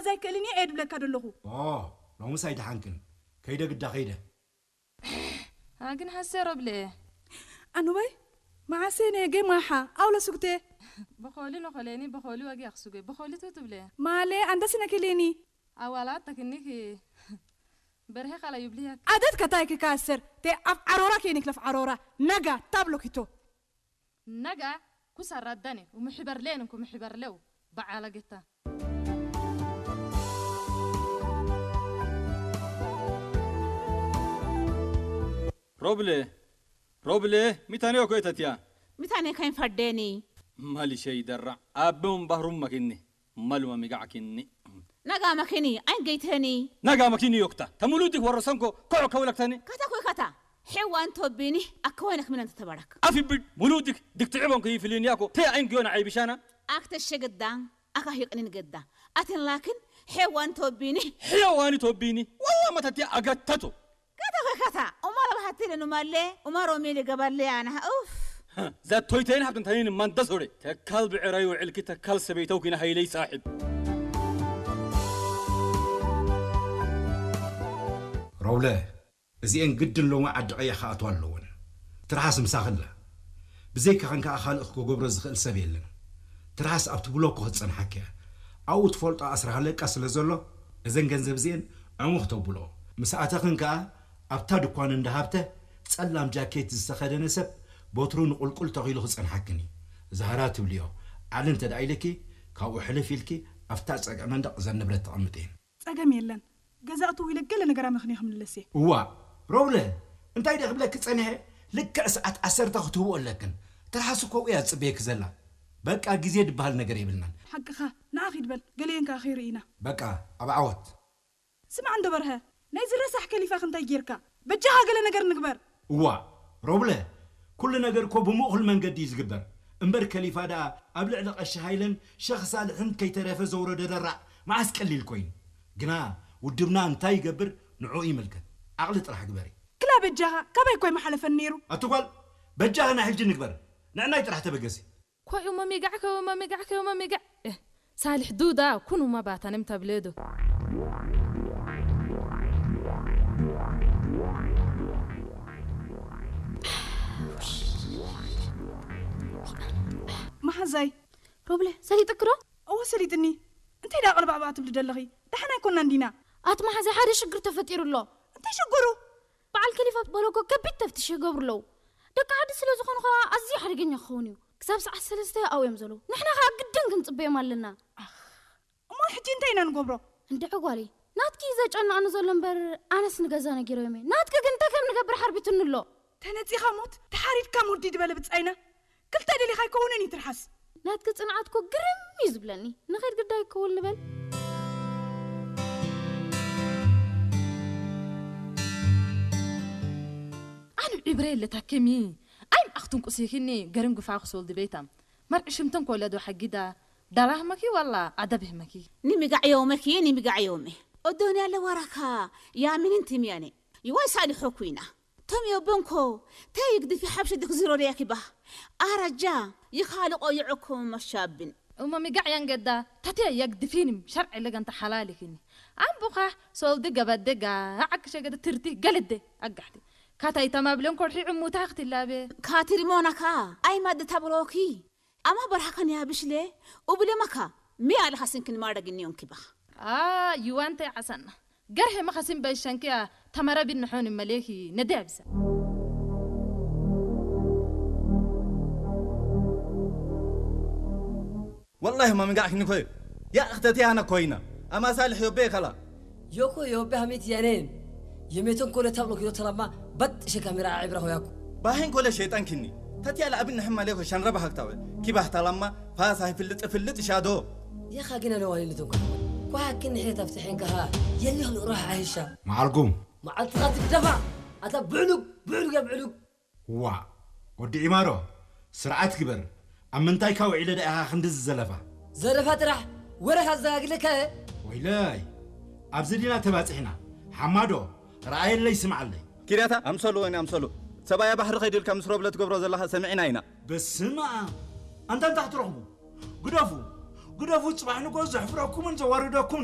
ዘይክእልን እየ ድብለካ ዘለኹ። ኦ፣ ሎምስ ኣይደሓንክን። ከይደ ግዳ ከይደ። ኣግን ሓሰር ኣብለ። ኣኑባይ፣ መዓሰ ነየ ገማሓ ኣውለ ሱግቴ። በኾሊ ነኾሌኒ፣ በኾሊ ወጊ ኣኽሱገ፣ በኾሊ ቱ ትብለ። ማለ ኣንደስ ነከሌኒ። ኣዋላት ተክኒክ በርሄ ካላ ይብልያክ። ኣደት ከታይ ክካሰር፣ ተ ኣብ ዓሮራ ከይኒ ክለፍ ዓሮራ፣ ነጋ ታብሎ ኪቶ። ነጋ ኩሳ ራዳኔ፣ ወምሕበር ሌን እንኩ ምሕበር ለው፣ በዓላ ገታ። ሮብለ፣ ሮብለ፣ ሚታንዮ ኮይተትያ። ሚታንዮ ከይንፈርደኒ። ማሊሸይ ደራ፣ ኣበውን ባህሩም መኪኒ፣ ማሉማ ሚጋዕኪኒ። ነጋ መኪኒ፣ ኣይን ገይትህኒ። ነጋ መኪኒ ዮክታ፣ ተሙሉዲ ወረሰንኮ፣ ኮዕ ከውለክተኒ። ከታ ኮይ ከታ፣ ሔዋን ቶቢኒ፣ ኣከወይነክ ምነን ተተባረክ። ኣፊብድ፣ ሙሉድክ፣ ድክ ትዕቦን ከይፍልንያኮ፣ ተይ ኣይን ጊዮን ዓይብሻና። ኣክተ ሸግዳ፣ ኣካ ሂቅኒን ገዳ። ኣትን ላክን፣ ሔዋን ቶቢኒ። ሔዋን ቶቢኒ፣ ዋላ መተትያ ኣገተቱ። ከታ ከታ ኡማር ኣብሃትልን ኡማሌ ኡማር ኦሜሊ ገባሌ ኣና ኡፍ። ዛቶይተይን ሓብትን ታይን ማንደሶሬ ተካል ብዕራይ ውዕልኪ ተካል ሰበይተው ኪና ሃይለይ ሳሕብ። ሮብለ፣ እዚኤን ግድን ሎሚ ዓዲ ቀይሕ ክኣትዋ ኣለወን። ትርሓስ ምሳኺ ኣላ። ብዘይካኽን ከኣ ካልእ ክገብሮ ዝኽእል ሰብ የለን። ትርሓስ ኣብቲ ብሎኮ ክትጸንሓኪ እያ። ኣብኡ ትፈልጦ ኣስራ ሃለቃ ስለ ዘሎ፣ እዘን ገንዘብ እዚኤን ዕሙኽ ተብልኦ። ምስ ኣተኽን ከኣ ኣብታ ድኳን እንዳ ሃብተ ጸላም ጃኬት ዝተኸደነ ሰብ በትሩ ንቑልቁል ተኺሉ ክጸንሓክን እዩ። ዛህራ ትብልዮ ዓሊ እንተ ደኣ ኢልኪ፣ ካብኡ ሕልፍ ኢልኪ ኣብታ ጸግዒ መንደቕ እዘን ንብረት ተቐምጥየን። ጸገም የለን። ገዛ እትው ኢለ ገለ ነገር ኣመኽንየ ክምልስ እየ። እዋእ ሮብለ፣ እንታይ ድየ ክብለኪ ጸኒሐ? ልክዕ ሰዓት ዓሰርተ ክትህብኦ ኣለክን። ትርሓስ እኮ ኣብኡ እያ ትጽበየኪ ዘላ። በቃ ግዜ ድበሃል ነገር የብልናን። ሓቅኻ፣ ንዓ ኺድ በል፣ ገሊኤን ከኣ ኺርእይና። በቃ፣ ኣብ ዓወት። ስማዕ እንዶ በርሀ፣ ናይዚ ረሳሕ ከሊፋኺ እንታይ ጌርካ? በጃኻ ገለ ነገር ንግበር። እዋእ ሮብለ፣ ኩሉ ነገር እኮ ብምእኹል መንገዲ እዩ ዝግበር። እምበር ከሊፋ ደኣ ኣብ ልዕሊ ቀሺ ሃይለን ሸኽ ሳልሕን ከይተረፈ ዘውረዶ ደራዕ መዓስ ቀሊል ኮይኑ። ግና ውድብና እንታይ ይገብር ንዕኡ ይምልከት። ዓቕሊ ጥራሕ ግበሪ። ክላ በጃኻ፣ ካባይ እኮ ኣይመሓለፈን ነይሩ። ኣቲ ጓል፣ በጃኺ ናይ ሕጂ ንግበር። ንዕናይ ጥራሕ ተበገሲ። ኮዩ መሚጋዕ ከወ መሚጋዕ ከወ መሚጋዕ። እህ፣ ሳልሕ ዱዳ ኩኑ መባታንም ተብለዶ። መሓዛይ። ሮብለ፣ ሰሊጥኪ ዶ? እወ ሰሊጥኒ። እንታይ ደኣ ቅልባዕባዕ ትብሊ ደለኺ? ደሓን ኣይኮናን ዲና። ኣቲ መሓዛይ ሓደ ሽግር ተፈጢሩ ኣሎ። እንታይ ሽግሩ? በዓል ከሊፋ በለኮ ከቢድ ተፍትሽ ይገብሩ ኣለዉ። ደቂ ዓዲ ስለ ዝኾኑ ኸኣ ኣዝዩ ሓደገኛ ክኸውን እዩ። ክሳብ ሰዓት ሰለስተ ኣብኡ እዮም ዘለዉ። ንሕና ኸኣ ግድን ክንጽበዮም ኣለና። ኣኽ፣ እሞ ሕጂ እንታይ ኢና ንገብሮ? እንድዒ ጓለይ፣ ናትኪ እዩ ዘጨንቐኒ ዘሎ እምበር ኣነስ ንገዛ ነጊረዮም እየ። ናትኪ ግን እንታይ ከም ንገብር ሓርቢቱኒ ኣሎ። ተነጺኻ ሞት፣ ተሓሪድካ ሞት ድዩ ዝበለ ብጻይና? ክልተ ደሊኻ ኣይከውንን እዩ ትርሓስ። ናትኪ ጽንዓት እኮ ግርም እዩ ዝብለኒ። ንኸይድ ግዳይ ክውል ንበል። ኣኑ ዕብረ የለ ታከሚ። ኣይ ማእኽቱን ቁሲኺኒ ገርም ግፋ ክሶል ድቤታ። መርዒ ሽምተን ኮለዶ ሓጊዳ። ዳላ ህመኪ ዋላ ኣደብ ህመኪ። ንሚጋዕ የውመኪ ንሚጋዕ የውመ። ኦዶንያ ለዋራካ ያሚንን ትምያኔ። ይዋይ ሳሊሖ ኩይና። ቶም ዮቦንኮ ተይግድፊ ሓብሺ ድክ ዝሮርያ ኪባህ ኣራጃ ይኻልቆ ይዕኩም መሻብን። እሞ ሚጋዕ ያንገዳ ተትያ ያግድፊንም ሸርዕ ለገንተ ሓላሊኪኒ ኣምቡኻ ሶልዲ ገበደጋ ዓክሸገደ ትርቲ ገለደ ኣጋሕቲ ካታይ ተማብለን ኮርሒ ዕሙታ ክትላበ ካትሪሞናካ ኣይማድ ተብሮኪ ኣማ በርሃኸን ያብሽለ ኡብለመካ ሚያ ለኻስንክን ማረግን ዮንኪባኽ ኣ ይዋንተ ዓሳና ገርሄ መኸሲን በይሸንክያ ተመረቢን ንሖን መሌኪ ነዲያ ብሰ والله ما مقعك نكوي يا أختتي أنا كوينة أما صالح يوبي كلا ዮኮ ዮቤ ሀሜት ያኔን የሜቶን ኮለ ታብሎ ኪሎ ተላማ በጥ ሸ ካሜራ ዓብራ ሆያኩ ባሂን ኮለ ሸይጣን ክኒ ተትያለ ኣብን ንሕማ ሌኮ ሸንረባ ሃክታወ ኪባህ ተላማ ፋሳ ይፍልጥ ፍልጥ ሻዶ የኻ ግን ኣነ ዋሊ ልትንኩ ኳ ግን ንሕት ኣፍትሕን ከሃ የሊኽ ልእሮህ ዓይሻ መዓልኩም መዓልትኻ ትግደፋ ኣታ ብዕሉግ ብዕሉግ ያ ብዕሉግ ዋእ ወዲ ዒማሮ ስርዓት ግበር ኣብ ምንታይካ ውዒለ ደኣ ኢኻ ክንድዚ ዘለፋ ዘለፋ ጥራሕ ወረኻ ዘጋግለካ እየ ወይለይ ኣብዚ ዲና ተባጺሕና ሓማዶ ረኣየለይ ስምዓለይ ኪርያታ ኣምሰሉ ወይኒ ኣምሰሉ ሰብኣያ ባሕሪ ከይዱ ኢልካ ምስ ሮብለ ትገብሮ ዘለኻ ሰሚዕና ኢና በስመ ኣብ ኣንታ እንታይ ክትረኽቡ ግደፉ ግደፉ ጽባሕ ንግሆ ዘሕፍረኩምን ዘዋርደኩምን እዩ